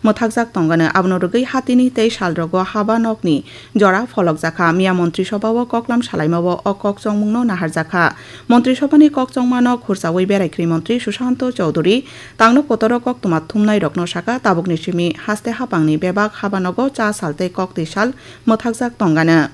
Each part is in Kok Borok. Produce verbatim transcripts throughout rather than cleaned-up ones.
mwthakjak tongano. Abono rwgwi hatini tei salrogo haba nokni jora pholokjakha. Miya Montri Sobha o koklam salaimao o kok chongmungno naharjakha. Montri Sobhani kok chongmano khurchaui Beraikri Montri Sushanto Chowdhury tangno kotoro koktwma thumnairokno sakha, tabukni simi haste hapangni bebak haba nogo cha sal tei koktwi sal mwthakjak tongano.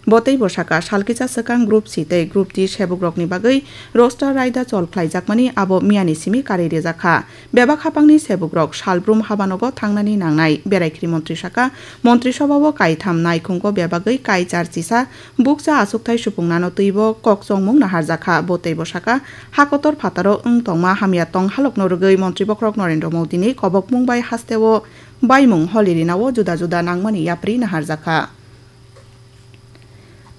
Bo teibo sakha, sal kisa swkang Group C tei Group D sebukrokni bagwi roster raida chol khlaijakmani abo miyani simi karwi rijakha. Bebak hapangni sebukrok salbrum habanogo thangnani nangnai. Beraikri Montri sakha, Montri Sobhao kaitham naikhungo bebagwi kaichar chisa bukcha achukthai supungnano twibo kok chongmung naharjakha. Bo teibo sakha, ha kotor phataro wng tongma hamya tong halokno rwgwi Montri Bokhorok Narendra Modini kobokmung bai hasteo baimung holirinao juda juda nangmani yapri naharjakha.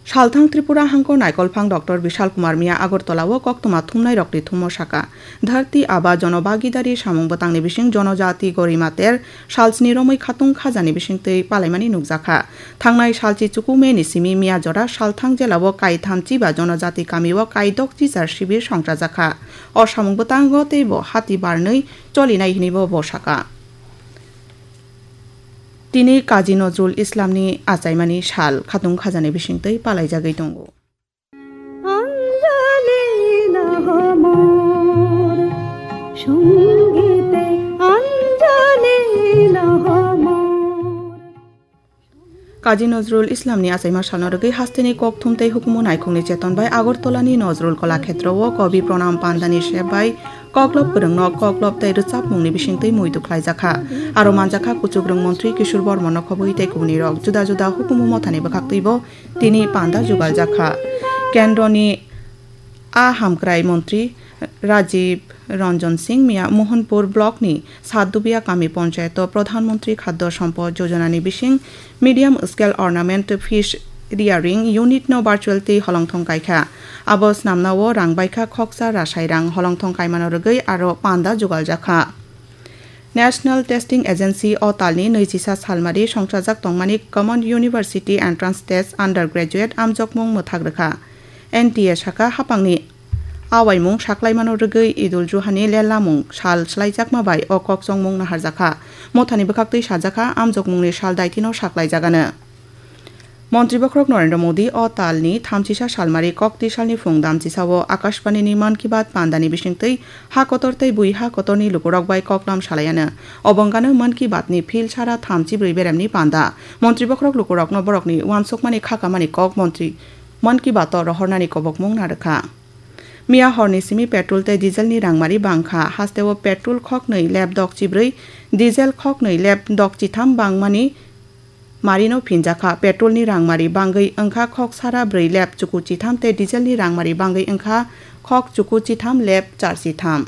Salthang Tripura hangko naikolphang Doctor Bishal Kumar Miya Agartala o koktwma thumnairokni thumo sakha, Dharti Aba Jonobhagidari samung bwtangni bising Jonojati Gorima ter salsni romwi khatung khajani bisingtwi palaimani nukjakha. Thangnai salchi chuku May ni simi Miya jora Salthang jela o kaitham chiba Jonojati kami o kaidok chichar sibir songchajakha. O samung bwtango teibo hati barnwi cholinai hinwi bo sakha. Tini Kazi Nozrul Islamni achaimani sal khatung khajani bisingtwi palaijagwi tongo. Anjali na ho mor, songite anjali na ho mor. Kazi Nozrul Islamni achaima salno rwgwi hasteni kokthum tei hukumu naikhungni cheton bai Agartalani Nozrul Kala Khetrao Kobi Pranam Pandani sep bai Koklob kwrwngno koklob tei rwchapmungni bisingtwi muitu khlaijakha. Aro manjakha kuchukrwng montri Kishore Bormano khobwi tei kubunirok. Juda juda hukumu mothani bwkhaktwibo tini panda jugaljakha. Kendroni a hamkrai montri Rajiv Ranjan Singh Miya Mohanpur blockni Satdubia kami ponchayato Pradhan Mantri Khadya Sampad Yojanani bising Medium Scale Ornament Fish Rearing Unit no virtual tei holongthong kaikha. Abo snamnao rang baikha khoksa rasai rang holongthong kaimano rwgwi aro panda jugaljakha. National Testing Agency o talni nwichisa salmari songchajak tongmani Common University Entrance Test Undergraduate amjokmung mwthak rwkha. N T A sakha hapangni awaimung saklaimano rwgwi Idul Juhani lellamung sal swlaijakma bai o kokchongmung naharjakha. Mothani bwkhaktwi sajakha, amjokmungni sal daitino saklaijagano. Montri Bokhorok Narendra Modi o talni thamchisa salmari kokti salni phung damchisao Akashbanini Mann Ki Baat pandani bisingtwi ha kotor tei bui ha kotorni lukurok bai koklam salaiano. Obongano Mann Ki Baatni phil sara thamchibrwi beremni panda. Montri Bokhorok lukurokno borokni uansukmani khakamani kok Montri Mann Ki Baato rohornani kobokmung narwkha. Miya horni simi petrol tei dieselni rangmari bangkha. Hasteo petrol khoknwi lep dok chibrwi, diesel khoknwi lep dok chitham bangmani marino phinjakha. Petrolni rangmari bangwi wngkha khok sara brwi lep chuku chitham tei dieselni rangmari bangwi wngkha khok chuku chitham lep char chitham.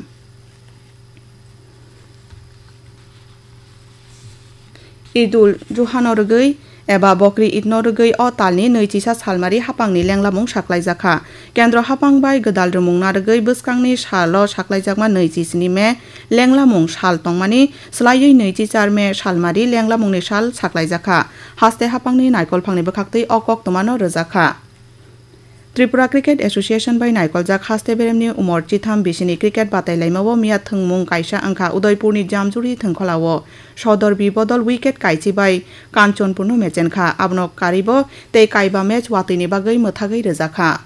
Idul Juhano rwgwi eba Bokri Idno rwgwi o talni nwichisa salmari hapangni lenglamung saklaijakha. Kendro hapang bai gwdal rwmung narwgwi bwskangni salo saklaijakma nwichi sini May lenglamung sal tongmani swlaiwi nwichi char May salmari lenglamungni sal saklaijakha. Haste hapangni naikolphangni bwkhaktwi o koktwmano rwjakha. Tripura Cricket Association bai naikoljak haste beremni umor chitham bisini cricket batai laimao miya thwngmung kaisa wngkha. Udaipurni Jamjuri thwngkholao Sodorbi bodol wicket kaichi bai Kanchanpurno mechenkha. Abono karibo tei kaiba match watwini bagwi mwthagwi rwjakha.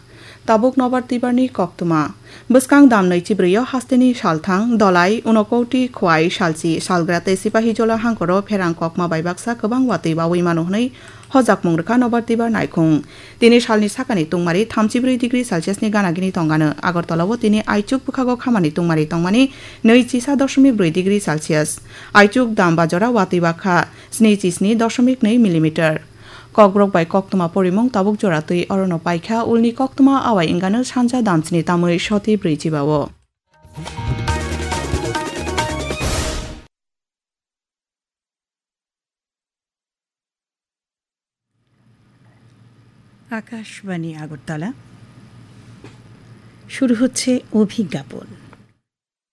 Tabuk nobar twibarni koktwma. Bwskang dam nwichi brwio hasteni salthang, Dolai, Unakoti, Khwai, Salchi, Salgra tei Sipahijola hangkoro pherang kokma bai baksa kwbang watwi baui mano hwnwi hojakmung rwkha nobar twibar naikhung. Tini salni sakani tungmari thamchibrwi degree Celsius ni gana gini tongano. Agartala o tini aichuk bwkhago khamani tungmari tongmani nwichisa dosmik brwi degree Celsius. Aichuk dam bajora watwi bakha snichisni dosmik nwi millimeter. Kokborok bai koktwma porimung tabuk jora twi orono paikha, ulni koktwma awai wngano sanja damchini tamwi soti brwi chibao. Akashvani আগরতলা। শুরু হচ্ছে অভিজ্ঞাপন।